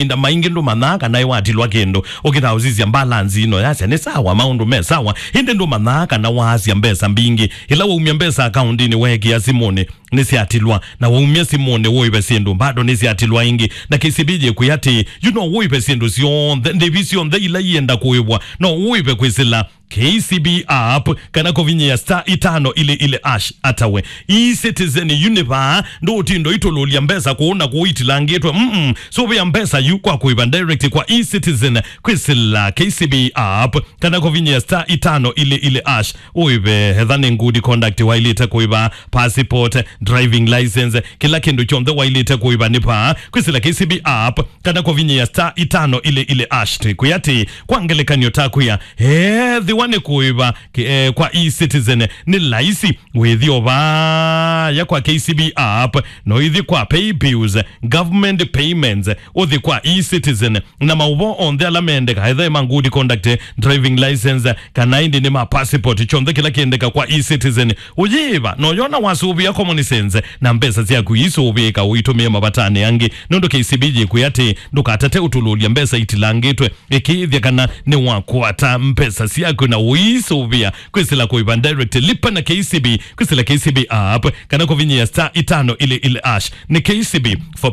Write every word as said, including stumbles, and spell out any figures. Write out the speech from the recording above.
mavinda maingĩ ndũmanyaa kana nĩwatilwa kĩndũ. Ũkĩtaa ũsisya mbalanzi ĩno yasya nĩ sawa, maũndũ me sawa, ĩndĩ ndũmanyaa kana waasya mbesa mbingĩ. Ĩla waumya mbesa akaundinĩ weekĩa simũnĩ, nĩsyatilwa, na waumya simũnĩ ũĩve syĩndũ, bado nĩsyatilwa ĩngĩ. Na K C B yĩkwĩa atĩĩ, yu no ũĩve syĩndũ syonthe, ndĩvi syonthe ila ienda kũĩvwa, no ũĩve kwĩsĩla K C B app kana kũvinyĩa star itano ili ili hash. Ata we, e-citizen yu nĩ vaa, ndũũtinda ũitũlũlya mbesa kũũ na kũũ itilangĩtwe. Mm-mm. Sũvĩa mbesa yu kwa kũĩva direct kwa e-citizen kwĩsĩla K C B app kana kũvinyĩa star itano ili ili hash. Ũĩve etha nĩ good conduct waĩlĩte kũĩva, passport, driving license, kĩla kĩndũ kyonthe waĩlĩte kũĩva nĩ vaa kwĩsĩla K C B app kana kũvinyĩa star itano ili ili hash. Twĩkwĩa atĩĩ, kwa ngelekany'o, takwĩa ethĩwa nĩ kũĩva ki- eh, kwa e-citizen nĩ laisi, wĩthi o vaya kwa K C B app, no ithi kwa pay bills, government payments, ũthi kwa e-citizen, na maũvoo onthe ala mendeka, etha ma good conduct, driving license, kana ĩndĩ nĩ ma passport, kyonthe kĩla kĩendeka kwa e-citizen ũyĩva. No yona wasũvĩa Common Sense, na mbesa syaku iisũvĩĩka ũitũmĩe mavatanĩ angĩ, nũndũ K C B yĩkwĩa atĩĩ, ndũkatate ũtũlũlya mbesa itilangĩtwe, ĩkĩĩthya kana nĩwakwata mbesa syaku na ũisũvĩa kwĩsĩla kũĩva direct, lipa na K C B kwĩsĩla K C B app kana kũvinyĩa star itano ili ili hash. Nĩ K C B for